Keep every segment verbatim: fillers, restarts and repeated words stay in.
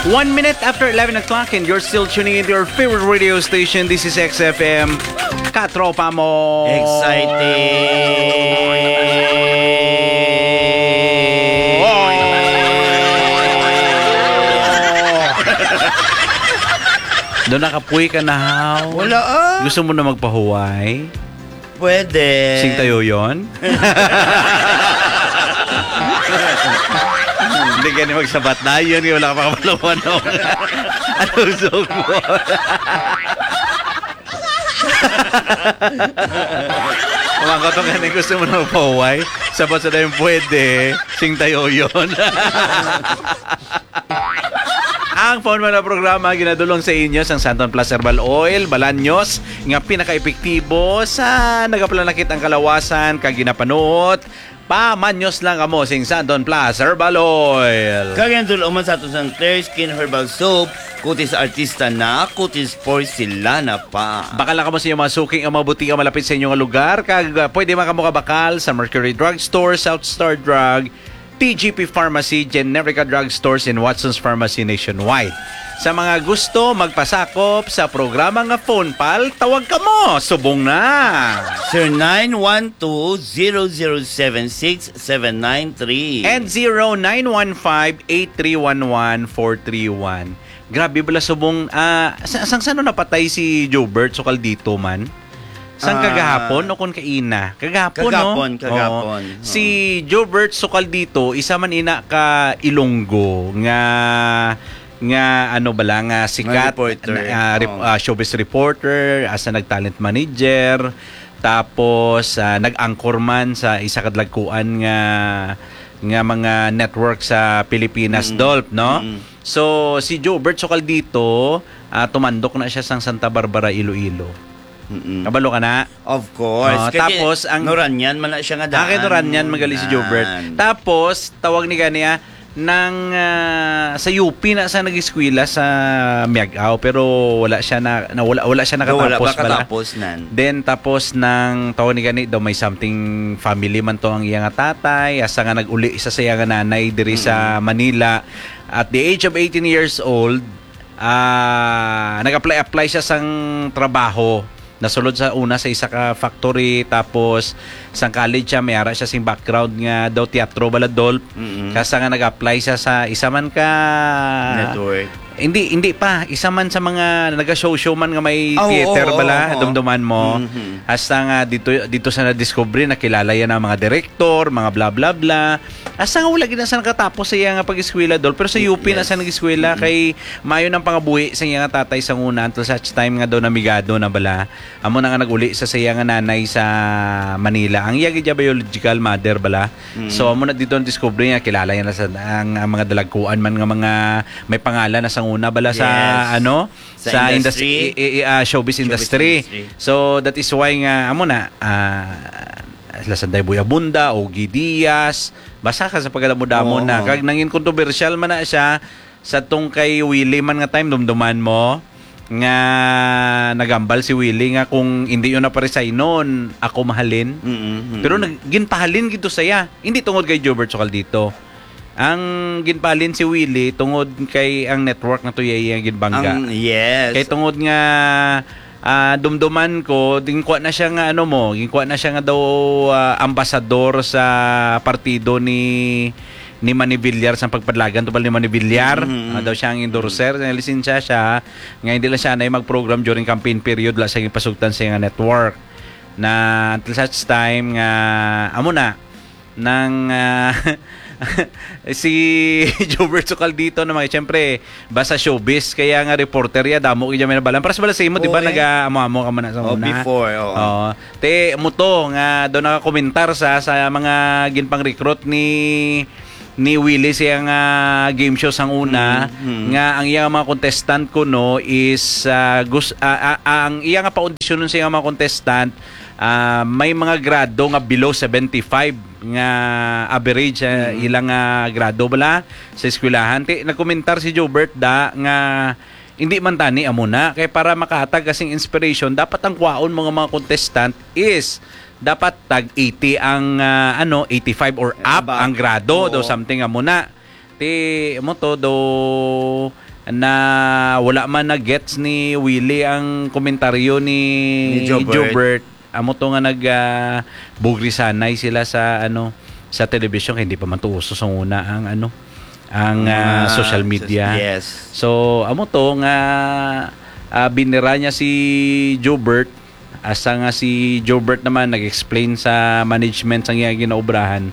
One minute after eleven o'clock and you're still tuning into your favorite radio station. This is X F M. Katropa mo. Exciting. Doon nakapuy ka na, haw? Wala, ah. Gusto mo na magpahuway? Pwede. Sing tayo yon? Hindi ka ni magsabat na yun, wala ka makapalawanong. Ano gusto mo? Mga kato ka ni gusto mo na magpahuway? Sabat sa dayong pwede, sing tayo yon. Ang Phone Muna programa ginadulong sa inyo sang Santon Plus Herbal Oil, Balanyos, nga pinaka-epektibo sa nagapalanakit ang kalawasan kag ginapanuot. Pamanyos lang kamo sing Santon Plus Herbal Oil. Kag ang dulong man sa ato sang Clear Skin Herbal Soap, kutis artista na, kutis porcelana pa. Bakal na kamo sa inyong mga suki nga mga butika malapit sa inyong lugar, kag, ah, pwede man kamo kabakal sa Mercury Drugstore, South Star Drug, T G P Pharmacy, Generica Drugstores, and Watson's Pharmacy nationwide. Sa mga gusto magpasakop sa programa nga Phone Pal, tawag kamo. Subong na! Zero nine one two, zero zero seven six, seven nine three. And zero nine one five, eight three one one, four three one. Grabe bala subong, ah, sa, sang sano napatay si Jobert Sukaldito man? Sang Ah, kagahapon o kon kaina? Kagahapon, no? Kagahapon, Oo. kagahapon. Oo. Si Jobert Sukaldito, isa man ina ka Ilonggo nga, nga ano bala, nga Nga sikat reporter. na, ah, rep-, Oo. ah, showbiz reporter, asa nag-talent manager, tapos, ah, nag-anchor man sa isa ka dalagkuan nga, nga mga network sa Pilipinas, Mm. Dolph, no? Mm. So, si Jobert Sukaldito, ah, tumandok na siya sang Santa Barbara, Iloilo. Mm-mm. Kabalo ka na? Of course. Oh, Kay tapos ang Noranian man na siya nga Ah, kay daan. Noranian man gali si Jobert. Nan. Tapos, tawag ni gani, ah, nang, ah, sa U P na sa nag-eskwela sa Miag-ao, pero wala siya na, na wala, wala siya Daw wala nakatapos pa bala. katapos nan. Then, tapos nang tawag ni gani daw may something family man to ang iya nga tatay, asa nga nag-uli sa iya nga nanay diri sa Mm. Manila. At the age of eighteen years old, ah, nag-apply-apply siya sang trabaho. Nasulod sa una sa isa ka factory, tapos sang college siya, may ara siya sing background nga daw teatro bala, Dolph. Mm-mm. Kasa nga nag-apply siya sa isa man ka Network. Hindi, hindi pa. Isa man sa mga naga-show-show man nga may Ah, oo, theater oo, bala, oo. dumduman mo. Mhm. Hasta nga dito, dito sa na-discovery, nakilala yan ang mga director, mga bla bla bla. Hasta nga wala gid na sa nakatapos sa iya nga pag-eskwela, Dol. Pero sa U P na Yes. sa nag-eskwela, Mm-mm. kay maayo nang pangabuhi sa iya nga tatay sa una until such time nga daw namigado na bala. Amo na nga nag-uli sa, sa iya nga nanay sa Manila. Ang iya gid biological mother bala. Mm. So, amo na dito ang discovery nga kilala niya na sa, ang, ang mga dalagkuan man nga mga may pangalan na sa una bala sa, Yes. ano, Sa sa industry. industry, i-, i-, ah, showbiz Showbiz industry. industry. So, that is why nga, amo na, ah, sila Sanday Boy Abunda, Ogie Diaz, basta ka sa pagkadamo-damo Oo. na. Kag nangin kontrobersyal man na siya sa tong kay Willie man nga time, dumduman mo, nga nagambal si Willie nga kung hindi yun naparesignon, ako mahalin. Mm-mm, mm-mm. Pero nag-, ginpahalin gid to saya. Hindi tungod kay Jobert Sukaldito. Ang ginpalin si Willie tungod kay ang network na to iya, iya ginbangga. Ang, yes. Kay tungod nga, ah, dumduman ko, ginkuha na siya nga, ano mo, ginkuha na siya nga daw, ah, ambasador sa partido ni, ni Manny Villar, sa pagpadlagan to pala ni Manny Villar. Mm-hmm. Ah, daw siya ang endorser, nga lisensya siya, nga hindi lang siya na mag-program during campaign period, wala siya ginpasugtan sa nga network. Na until such time nga, amo na, nang, ah, si Jobert Sukaldito na mga, siyempre, basta showbiz, kaya nga reporter ya, damo kaya may nabalan. Para sa bala sa imo, di ba, Oo, eh. nag-aamo-amo ka man na sa Oh, una. before, oo. Oo. Te, mo to, nga daw nakakomentar sa, sa mga ginpang-recruit ni, ni Willie sa iyang, ah, game show sang una, Mm, mm. nga ang iyang mga contestant kuno is, ah, gus-, ah, ah, ang iyang paundisyon sa iyang mga contestant, ah, may mga grado nga below seventy-five nga average, ah, Mm. ilang, ah, grado bala sa eskwelahan. Ti, nagkomentar si Jobert da nga hindi man tani amo na. Kay para makahatag kasing inspiration, dapat ang kwaon mo nga mga contestant is dapat tag eighty ang, ah, ano, eighty-five or up Aba. ang grado, Oo. daw something amo na. Ti, mo to, do, na wala man na-gets ni Willie ang komentaryo ni Ni Jobert. Jobert. Amo to nga nag, ah, bugrisanay sila sa, ano, sa telebisyon, kay hindi pa man to uso sa una ang, ano, ang, Ang ah, mga social media. Yes. So, amo to nga, ah, binira niya si Jobert, hasta nga si Jobert naman nag-explain sa management sang iya ginaobrahan.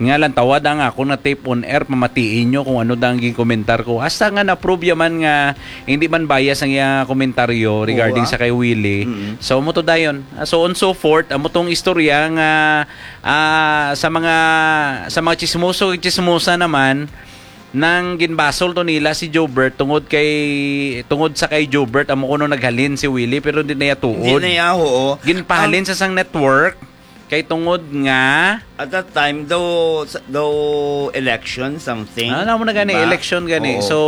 Nga lang, tawad ang ako na tape on air, pamatiin nyo kung ano dang ginkomentar ko. Hasta nga na-prove ya man nga hindi man bias ang iya komentaryo regarding Oo, ah. sa kay Willie. Mm. So, amo to dayon. Ah, so on so forth, amo tong istorya nga, ah, sa mga, sa mga chismoso, chismosa naman, nang ginbasol to nila si Jobert tungod kay, tungod sa kay Jobert, amo kuno naghalin si Willie, pero hindi na iya tuod. Hindi na iya, oo. Ginpahalin Ang sa sang network, kay tungod nga At that time, daw, sa- daw election, something. Ah, namo na gani, Diba? election gani. Oo. So,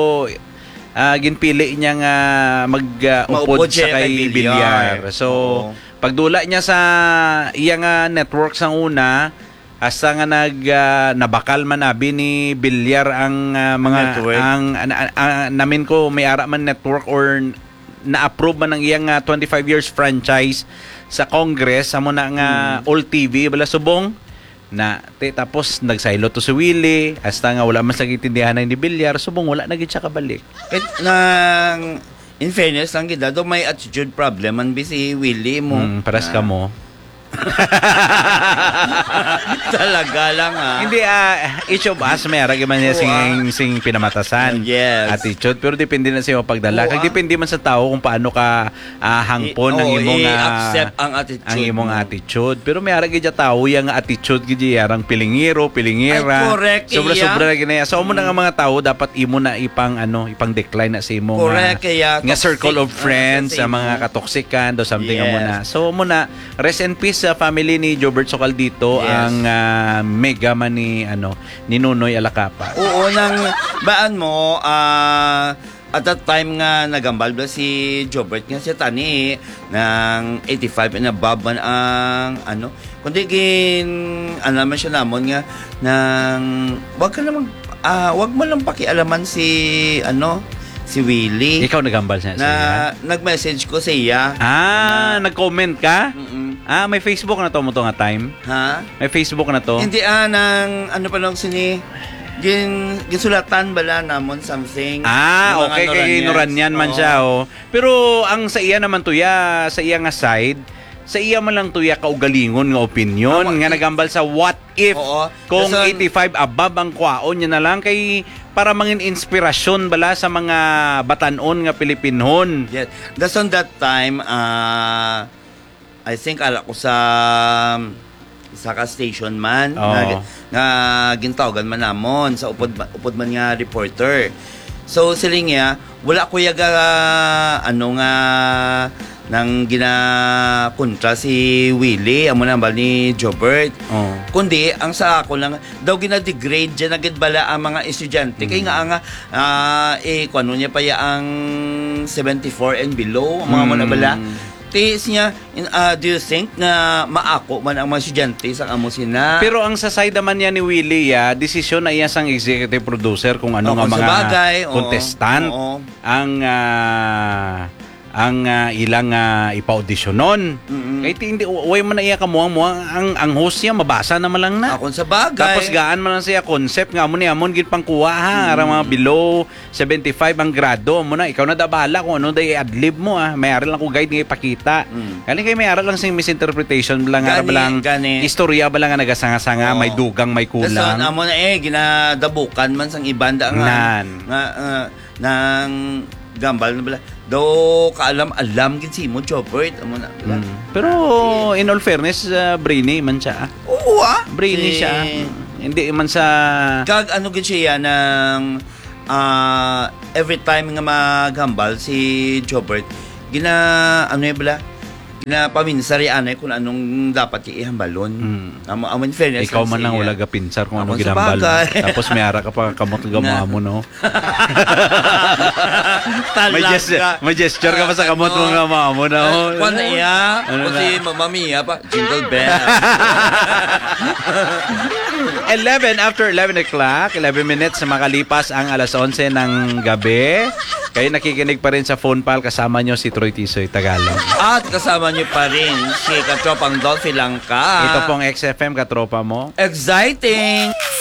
ah, ginpili niya nga mag, ah, Maupod upod siya sa kay kay Villar. Villar. So, Oo. pagdula niya sa iya nga network sang una, hasta nga nag, ah, nabakal man abi ni Villar ang, ah, mga, Network. ang, an-, an-, ah, namin ko may ara man network or na-approve man ang iyang, ah, twenty-five years franchise sa Congress, amo na nga Hmm. All T V, bala subong na, ti, tapos nagsaylo to si Willie, hasta nga wala man sa gitindihan ni Villar, subong wala na gid siya kabalik. It, nang, in fairness lang gid, daw may attitude problem man bi si Willie mo. Mm, paras Na. ka mo. Talaga lang, ah. Hindi, ah, each of us may ara gid man niya Oo, sing, ah. sing pinamatasan. Yes. Attitude, pero depende na sa imo pagdala. Oo, Kag ah. depende man sa tao kung paano ka, ah, hangpon I-, ang oo, imo nga, i-accept ang attitude ang imo nga mo. attitude. Pero may ara gid ya tao ya nga attitude gid ya, arang pilingero, pilingera. Ay, correct, Sobra-sobra iya. na gid na ya. So, amo na nga Mm. mga tao dapat imo na ipang, ano, ipang decline na sa imo Correct, nga, kaya nga circle toxic of ang friends, sa ang mga imo. katoxican, do something amo Yes. na. So, amo na, rest in peace sa family ni Jobert Socaldito, Yes. ang, ah, mega man ni, ano, ni Nonoy Alacapa. Oo, nang baan mo, ah, at that time nga nagambal ba si Jobert nga siya tani, nang eighty-five and above man ang, ano, kundi gin-, ano naman siya namon nga, nang, wag ka namang, ah, wag mo lang pakialaman si, ano, si Willie. Ikaw nagambal siya, Na, siya? nag-message ko sa iya. Ah, Na nag-comment ka? Mm-mm. Ah, may Facebook na to mo to nga time? Ha? May Facebook na to? Hindi, ah, nang, ano pa lang sini, gin-, ginsulatan bala namon something. Ah, Yung mga okay, kay Noranians. Noranian man Oo. siya, oh. Pero ang sa iya naman to, ya, sa iya nga side, sa iya man lang to, ya, kaugalingon nga opinion, Tama, nga i- nagambal sa what if Oo. kung Dason eighty-five above ang kwaon niya na lang kay para mangin inspirasyon bala sa mga batanon nga Pilipinhon. Yes. That's on that time, ah, I think, ala ko sa, sa ka station man, Oo. nga, nga gintawagan man namon sa upod, upod man nga reporter. So, siling niya, wala ko yaga, ano nga, nang ginakontra si Willie, amo na bal ni Jobert. Oo. Kundi, ang sa ako lang, daw gina-degrade dyan agad bala ang mga estudyante. Kay Mm. nga, nga, ah, eh, kung ano niya pa ya ang seventy-four and below, ang mga mo na bala. Mm. Tiis niya, in, ah, do you think nga maako man ang mga estudyante sa amo sina? Pero ang sa side naman niya ni Willie, ah, desisyon na iya sang executive producer kung ano Oh, nga kung mga sabagay, oo. contestant Oo. ang, ah, ang, ah, ilang, ah, ipa-auditionon. Mm-mm. Kay ti-, hindi, wa-, way man na iya kamuang-muang, ang, ang host niya, mabasa naman lang na. Ah, kung sabagay. Tapos gaan man lang siya concept nga amo ni amon gid pangkuha, ha, Mm. arang mga below seventy-five ang grado, amo na, ikaw na da bahala kung ano da i-adlib mo, ah. May ara lang ko guide nga ipakita. Mm. Galing kay may ara lang sing misinterpretation, bala nga, Gani, bala nga gani. istorya, bala nga nagasanga-sanga, Oo. may dugang, may Dason, kulang. amo na eh, ginadabukan man sang iban da nga, Nan. nga, ah, nang gambal na bala. Daw kaalam-alam gid si mo, Jobert, amo na bala. Mm. Pero, Ah, in all fairness, ah, brainy man siya, ah. Oo, ah. Brainy Si siya. Hindi man sa Kag ano gid siya nang, ah, every time nga maghambal si Jobert, gina-, ano yun bala? Ginapaminsar yan eh kung anong dapat ihambalon. Mm. Amo, amo in fairness Ikaw lang man sa lang iya. wala gapinsar kung Ako anong sa ginambal. bagay. Tapos may ara ka pa kamot nga Nga. mo, no? Talaga. May ges-, may gesture ka pa sa kamot mo Ano? nga mamo na, Ah, oh. kwan na iya. Ano Kasi na? Mamma Mia pa. Jingle bell. Eleven, after eleven o'clock, eleven minutes na makalipas ang alas onse ng gabi. Kayo nakikinig pa rin sa Phone Pal, kasama nyo si Troy Tisoy Tagalog. At kasama niyo pa rin si Katropang Dolphy Langka. Ito pong X F M, katropa mo. Exciting!